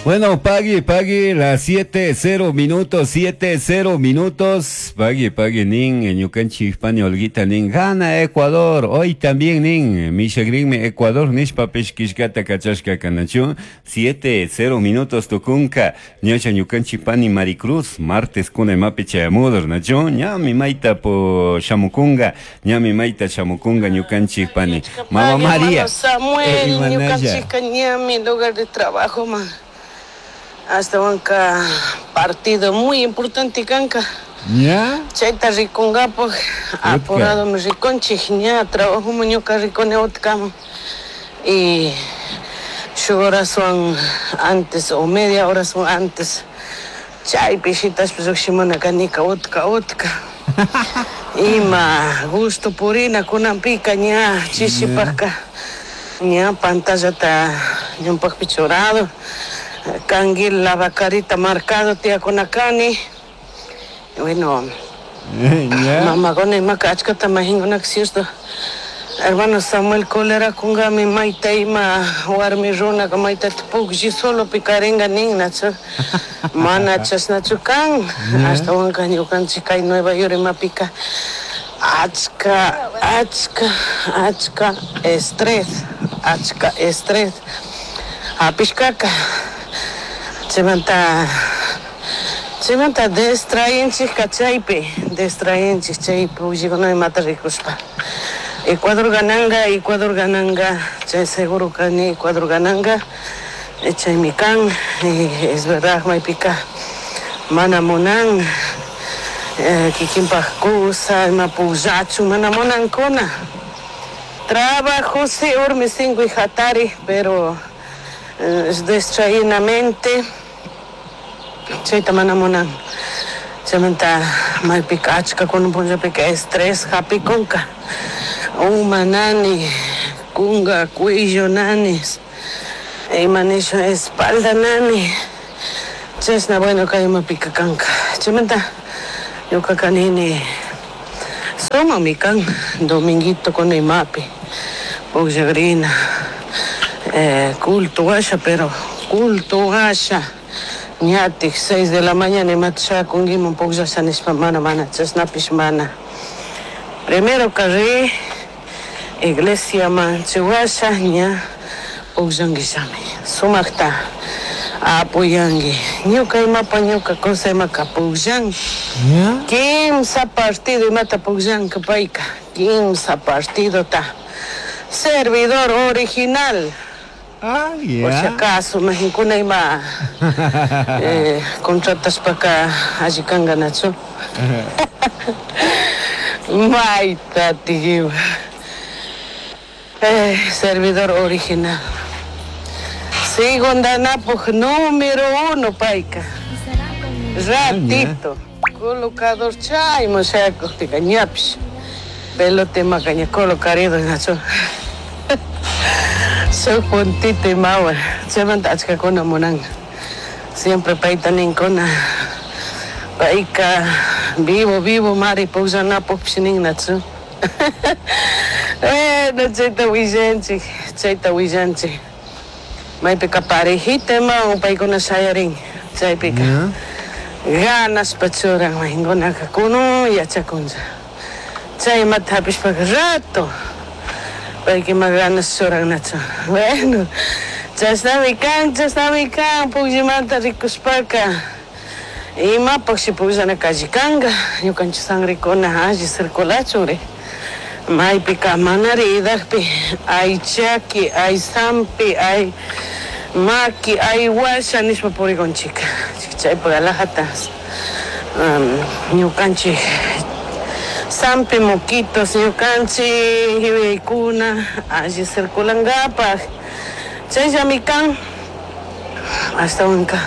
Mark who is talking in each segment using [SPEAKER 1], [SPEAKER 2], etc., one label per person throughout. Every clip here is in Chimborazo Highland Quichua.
[SPEAKER 1] Bueno, pagui, pagui, las 7, 0 minutos, 7, 0 minutos. Pagui, pagui, nin, ñukanchik pani Olguita, nin, gana Ecuador. Hoy también, nin, mishagrinmi Ecuador, nishpapish killkata kachashka kanachu. 7, 0 minutos tukunka. Ñacha ñukanchik pani Maricruz, martes kuna imapi chayamudur, nachu. Ñami mayta po shamukunga, ñami mayta shamukunga ñukanchik pani. Mama
[SPEAKER 2] Pagui,
[SPEAKER 1] María.
[SPEAKER 2] hermano Samuel,
[SPEAKER 1] Imanalla.
[SPEAKER 2] ñukanchikka ñami lugar de trabajo man. Ashtawanka partido muy importante kanka.
[SPEAKER 1] ¿Ya?
[SPEAKER 2] Chayta rikungapak apuradomi rikunchik ña trabajoman ñuka rikuni utkaman. Y shuk horaswan antes o media horaswan antes chaypi shitashpa llukshimuna kanika utka utka. Ima gusto purina kunanpika ña chishipakka ña pantallata ñawpakpi churado kanguil lavacarita marcado tiyakuna kani. Bueno,
[SPEAKER 1] ¿Ya?
[SPEAKER 2] mamakuna imaka achkata majinkunaka cierto. Hermano Samuel cólera kungami mayta ima warmi runaka maytata puklli solopi karinga nin nachu. Mana chashnachu kan. Ashtawanka ñukanchik kay Nueva York imapika achka, achka, achka estrés, achka estrés hapishkaka. Chaymanta, chaymanta distraenchikka chaypi, distraenchik chay pukllikuna imata rikushpa. Ecuador gananga, Ecuador gananga, chay seguro kani Ecuador gananga, chaymi kan, es verdad maypika mana munan, kikinpak kusa, ima pukllachu, mana munankuna. Trabajo sí, urmi sinkuy hatari, pero distraídamente, chayta mana munan. Chaymanta maypika achka kunan punllapika estrés hapikunka. Uma nani, kunga, cuello nani, ima nisha espalda nani. Chashna bueno kay imapika kanka. Chaymanta ñukaka nini sumami kan dominguito kuna imapi pukllagrina, culto washa, pero culto washa ñatik 6 de la mañana imata shakunkiman pukllasha nishpa mana, mana chashnapish mana. Primero karri iglesiaman chiwasha ña pukllankillami. Sumakta apoyanki. Ñuka imapa ñuka cosa imaka pukllanki.
[SPEAKER 1] ¿Ya?
[SPEAKER 2] Kimsa partido imata pukllanka payka. Kimsa partidota. Servidor original.
[SPEAKER 1] Ah,
[SPEAKER 2] Por si
[SPEAKER 1] ya.
[SPEAKER 2] acaso, majinkuna ima, contratashpaka alli kanka nachu. Mayta tigiwa. Servidor original. Sigo andanapuj número 1 payka. Ratito. Colocador chayman shayakukpika ñapish. Pelota imaka ña colocarido nachu. Shuk puntito imawan. Chaymanta achkakuna munanka. Siempre payta ninkuna. Payka vivo, vivo mari pukllanapukpish nin nachu. Bueno, chayta willanchik, chayta willanchik. Maypika parejita ima paykuna shayarin. Chaypika.
[SPEAKER 1] ¿Ya?
[SPEAKER 2] Ganaspa churan mahinkunaka kunun yachakuncha. Chaymata hapishpaka rato. Paykima ganas churan nachu. Bueno, chashnami kan, chashnami kan, pukllimanta rikushpaka. Imapakshi pukllana kallikanka, ñukanchik sangrekuna alli circulachunri. Maypika manari idakpi ay chaki, ay sampi, ay maki, ay washa nishpa purikunchika. Chaypak alajata, ñukanchik sampi moquitos ñukanchik yuyaykuna alli circulankapak. Chayllami kan, ashtawanka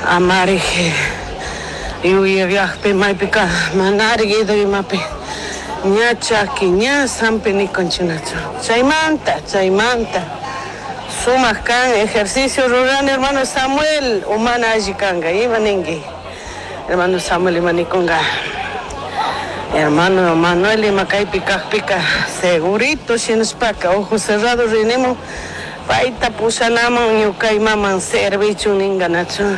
[SPEAKER 2] amarik yuyayakpi maypika manarik ido imapi ña chaki, ña sampi nikunchinachu. Chaymanta, chaymanta. Sumak kan ejercicio rurani hermano Samuel, umana alli kanka, ima ninki. Hermano Samuel ima nikunka. Hermano Manuel ima kaypi kakpika segurito shinashpaka ojo cerrado rinimo Payta pushanaman ñuka imaman servichun ninga nachu.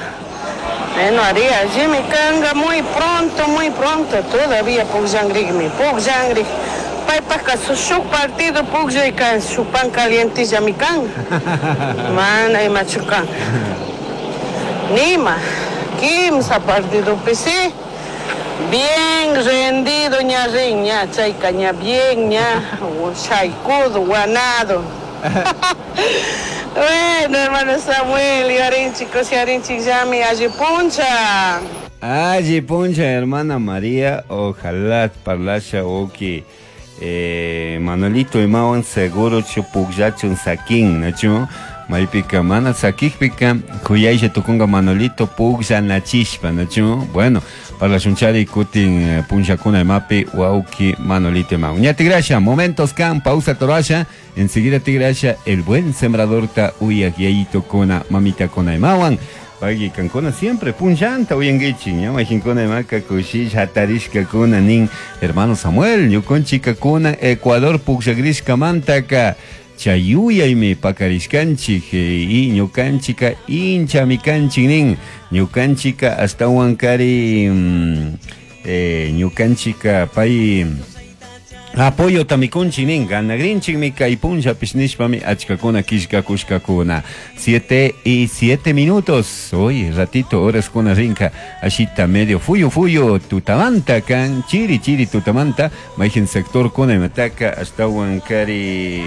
[SPEAKER 2] Bueno, ari allimi kanga muy pronto, muy pronto, todavía pukllanrikmi, pukllanrik. Paypajka shuk partido pukllayka shuk pan calientillami kan. Mana imachu kan. Nima, kimsa partidopi sí. Bien rendido ña rin ña, chayka ña bien ña, shaykudo, guanado. Bueno, hermano Samuel, yarinchik, yarinchik llami, alli puncha.
[SPEAKER 1] Alli puncha, hermana María, ojalá parlasha oki. Manolito imawan seguro chu pukllachun sakin, nachu? Maypika mana sakikpika kuyaylla tukunga Manolito pukllanachishpa, nachu? Bueno, parlashunchari kutin punllakuna imapi wauki Manolito imawan. Ña tigrasha, momentos kan, pausa torasha, enseguida tigrasha, el buen sembrador ta uyak yayito kuna, mamita kuna imawan. Pagui kankuna siempre punllanta uyanguichi, ña majinkuna imaka kushish hatarishka kuna nin hermano Samuel, ñukunchika kuna Ecuador pukllagrishka mantaka chayuyaymi pakarishkanchik y ñukanchika inchami kanchik nin ñukanchika ashtawan kari ñukanchika pay apoyo tamikunchik nin ganagrinchikmi kay punllapish nishpami achkakuna killkakushkakuna. 7:07. Hoy ratito horas kuna rinka ashita medio fuyu fuyu tutamanta kan chiri chiri tutamanta mayjin sector kuna imataka ashtawan kari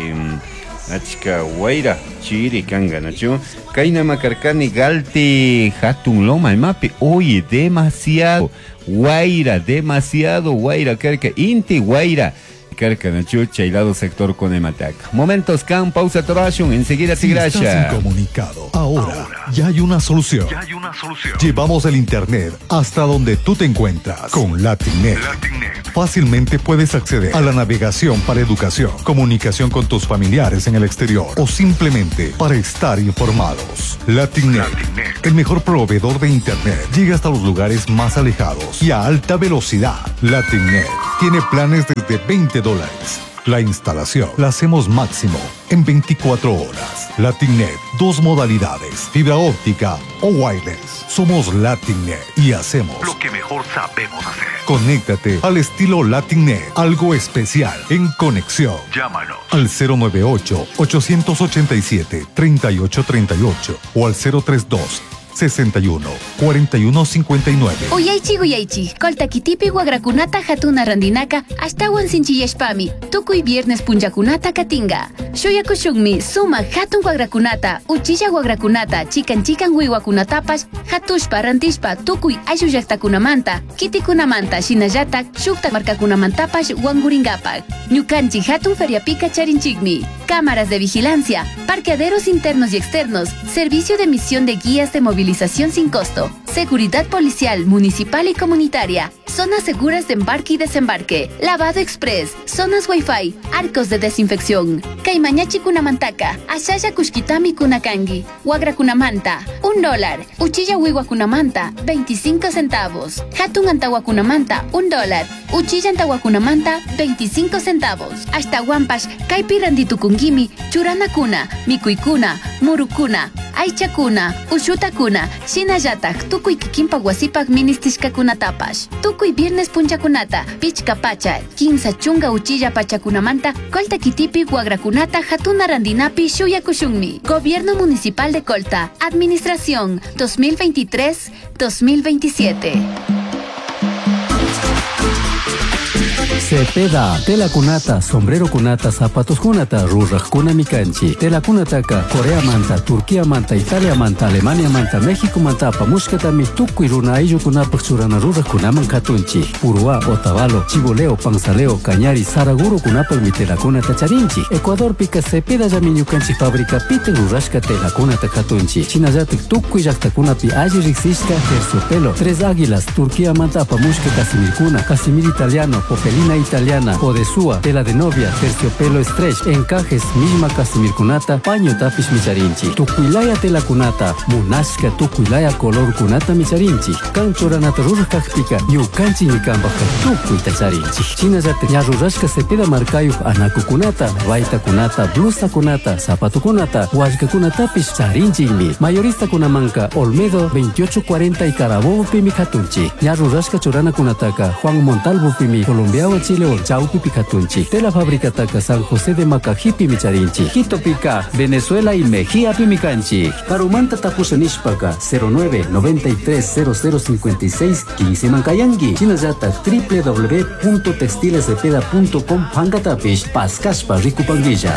[SPEAKER 1] achka wayra chiri kanga nachu kayna makarkani galti hatun loma imapi. Oye, demasiado wayra, demasiado wayra karka inti wayra karka nachu chaylado sector con imataca. Momentos kan, pausa torashun, enseguida
[SPEAKER 3] Si
[SPEAKER 1] tigrasha.
[SPEAKER 3] estás incomunicado, ahora ya hay una solución.
[SPEAKER 4] Ya hay una solución.
[SPEAKER 3] Llevamos el internet hasta donde tú te encuentras con LatinNet.
[SPEAKER 4] LatinNet.
[SPEAKER 3] Fácilmente puedes acceder a la navegación para educación, comunicación con tus familiares en el exterior o simplemente para estar informados. LatinNet,
[SPEAKER 4] LatinNet.
[SPEAKER 3] el mejor proveedor de internet, llega hasta los lugares más alejados y a alta velocidad. LatinNet tiene planes desde veinte dólares. La instalación la hacemos máximo en 24 horas. LatinNet, dos modalidades, fibra óptica o wireless. Somos LatinNet y hacemos
[SPEAKER 4] lo que mejor sabemos hacer.
[SPEAKER 3] Conéctate al estilo LatinNet, algo especial en conexión.
[SPEAKER 4] Llámanos
[SPEAKER 3] al 098 887 3838 o al 032 61 41 59.
[SPEAKER 5] Uyaychi uyaychi, Colta kitipi wagrakunata hatuna randinaka ashtawan sinchiyashpami, tukuy viernes punllakunata katinga. Shuyakushunmi suma hatun wagrakunata, uchilla wagrakunata, chikan chikan wiwakunatapash, hatushpa rantishpa tukuy ayllu llaqtakunamanta, kitikunamanta, shinallatak shukta markakunamantapash wanguringapak. Ñukanchik hatun feriapika charinchikmi, cámaras de vigilancia, parqueaderos internos y externos, servicio de emisión de guías de movilización sin costo, seguridad policial, municipal y comunitaria, zonas seguras de embarque y desembarque, lavado express, zonas wifi, arcos de desinfección. Kaymañachi kunamantaka, ashalla kushkitami kunakangi, wagra kunamanta, $1, uchilla wiwa kunamanta, 25 centavos, hatun antawa kunamanta, $1, uchilla antawa kunamanta, 25 centavos. Hasta guampash, kaypi randitukunkimi, churana kuna, mikuykuna, murukuna, aychakuna, ushutakuna, shinallatak tukuy kikinpak wasipak ministishkakunatapash. Tukuy viernes punchakunata, pichka pacha, 15 chunga uchilla pachakunamanta, Colta kitipi wagrakunata hatuna randinapi shuyakushunmi. Gobierno Municipal de Colta, Administración 2023-2027.
[SPEAKER 6] Cepeda, tela kunata, sombrero kunata, zapatos kunata, ruraj kunami kanchi. Tela kunataka, Corea manta, Turquía manta, Italia manta, Alemania manta, México manta, apamushkatami, tukuy runa ayllukunapaj churana ruraj kunaman katunchi. Uruá, Otavalo, Chiboleo, Panzaleo, Cañari, Saraguro kunapajmi tela kunata charinchi. Ecuadorpika Cepeda llami ñukanchik fábrica pite rurashka tela kunata katunchi. Shinallatik tukuy llaqtakunapi alli riksishka terciopelo, Tres Águilas, Turquía manta apamushka Casimirkuna, Casimir italiano, Popelina italiana, odesua, tela de novia, terciopelo stretch, encajes, millma casimirkunata, pañotapish micharinchik. Tukuylaya telakunata, munashka tukuylaya colorkunatami charinchik. Kan churanata ruraj kakpika, ñukanchikmi kanpajka tukuyta charinchik. Shinallatak ña rurashka Cepeda markayuj anakukunata, baytakunata, blusakunata, zapatokunata, wallkakunatapish charinchikmi. Mayoristakunamanka Olmedo 2840 y Carabobopimi katunchik. Ña rurashka churanakunataka Juan Montalvopimi Colombiawan Chilewan chawpipi katunchik. Tela fabricataka San José de Macajipimi charinchik. Quitopika, Venezuela y Mejíapimi kanchik. Karumanta tapusha nishpaka 09 93 0056 15 mankayanki. Shinallatak www.textilescepeda.com pankatapish paskashpa rikupankilla.